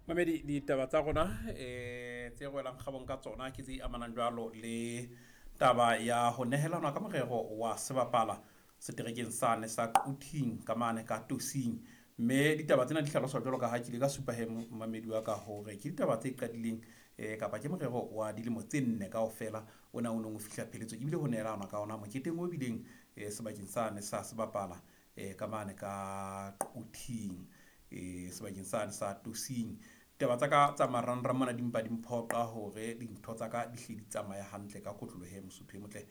Mamedi, ditaba tsa rona tse re welang kgabong ka tsona ke tse amanang jwalo le taba ya ho nehelanwa ka morero wa sebapala seterekeng sane sa Quthing ka mane ka Tosing. Mme ditaba tsena di hlaloswa jwalo ka ha ke ile ka supa he momamedi wa ka hore ke ditaba tse qadileng kapa ke morero wa dilemo tse nne kaofela ona o neng o fihla pheletso ebile ho nehelanwa ka ona moketeng o bileng sebakeng sane sa sebapala ka mane ka Quthing, sebakeng sane sa Tosing. Taba tsa ka tsa marangrang mona di mpa di mphoqa hore dintho tsa ka di hle di tsamaye hantle ka kotloloho he Mosotho e motle,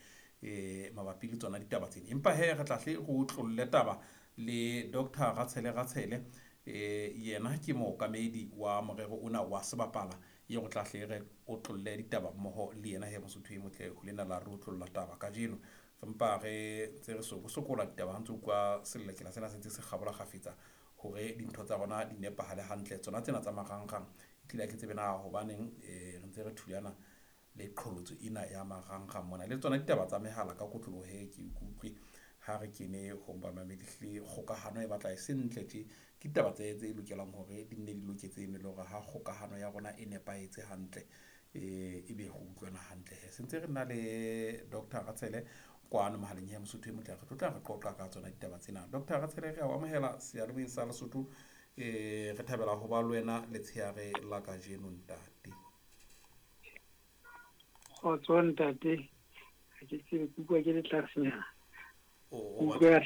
mabapi le tsona ditaba tsena. Empa he re tla hle re otlolle taba le Dr. Ratshele Ratshele, yena ke mookamedi wa morero ona wa sebapala eo re tla hle re otlolle ditaba mmoho le yena he Mosotho e motle ho lena la re otlolla taba kajeno. Re mpa re ntse re sokola ditaba ha ntse utlwa selelekela sena se ntse se kgabola kgafetsa hore dintho tsa rona di nepahale hantle. Tsona tsena tsa marangrang e tlile ha ke tsebe na hobaneng re ntse re thulana le qholotso ena ya marangrang mona. Le tsona ditaba tsa mehala ka kotloloho he ke ikutlwe ha re kene ho bamamedi hle kgokahano e batla e se ntle tje. Ke ditaba tse lokelang hore di nne di loketse ene le hore ha kgokahano ya rona e nepahetse hantle, ebe re utlwana hantle he. Se ntse re na le Dr. Ratshele kwano mohaleng ya Mosotho e motle, re tlo tla re qoqa ka tsona ditaba tsena. Dr. Ratshele, re a o amohela seyalemoyeng sa Lesotho, re thabela ho ba le wena letshehare la kajeno ntate. Kgotso ntate, ha ke tsebe, ke utlwa ke le tlasenyana. O Utlwa.